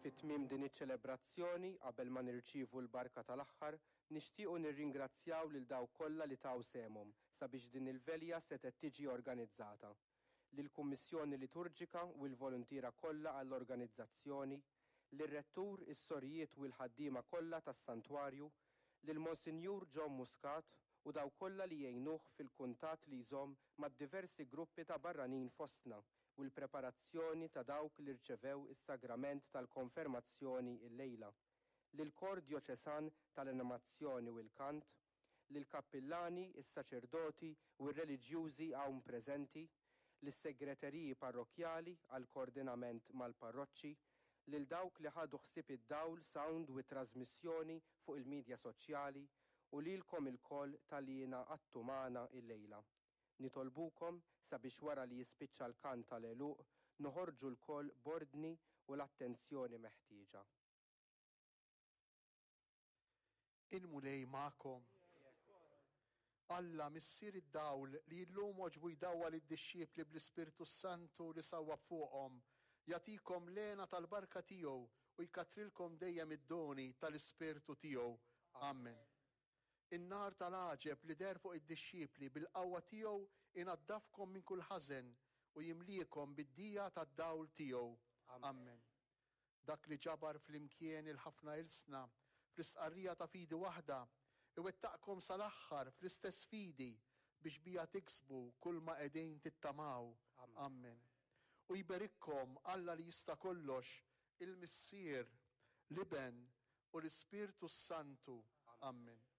Fi tmiem din iċ-ċelebrazzjoni, qabel ma nirċievu l-barka tal-aħħar, nixtiequ nirringrazzjaw lil dawk kollha li taw sehemhom sabiex din il-velja setgħet tiġi organizzata. Lill-Kummissjoni Liturġika u l-voluntiera kollha għall-organizzazzjoni, lir-Rettur, is-sorijiet u l-ħaddiema kollha tas-Santwarju, lil Monsinjur John Muscat u dawk kollha li jgħinuh fil-kuntatt li jżomm mad-diversi gruppi ta' barranin fostna u l-preparazzjoni ta' dawk li rċevew is-sagrament tal-Konfermazzjoni illejla, lill-Kor Djoċesan tal-Animazzjoni u l-Kant, lill-kappillani, is-saċerdoti u r-reliġjużi hawn preżenti, lis-segreteriji parrokkjali għall-koordinament mal-parroċċi, lil dawk li ħadu ħsieb id-dawl, sound u t-trażmissjoni fuq il-midja soċjali u lilkom ilkoll talli ingħaqadtu magħna illejla. Nitolbukom sabiex wara li jispiċċa l-kant tal-għeluq noħorġu lkoll b'ordni u l-attenzjoni meħtieġa. Il-Mulej magħkom. Alla, Missier id-dawl, li llum għoġbu jdawwal id-dixxipli bl-Ispirtu s-Santu li sawwab fuqhom, jagħtikom l-hena tal-barka tiegħu u jkattrilkom dejjem id-doni tal-Ispirtu tiegħu. Amen. In-nar tal-għaġeb li deher fuq id-dixxipli bil-qawwa tiegħu inaddafkom minn kull ħażen u jimliekom bid-dija tad-dawl tiegħu. Amen. Dak li ġabar flimkien il-ħafna ilsna fl-istqarrija ta' fidi waħda, iwettaqkom sal-aħħar fl-istess fidi biex biha tiksbu kulma qegħdin tittamaw. Amen. U jberikkom Alla li jista' kollox, il-Missier, l-Iben, u l-Ispirtu s-Santu. Amen.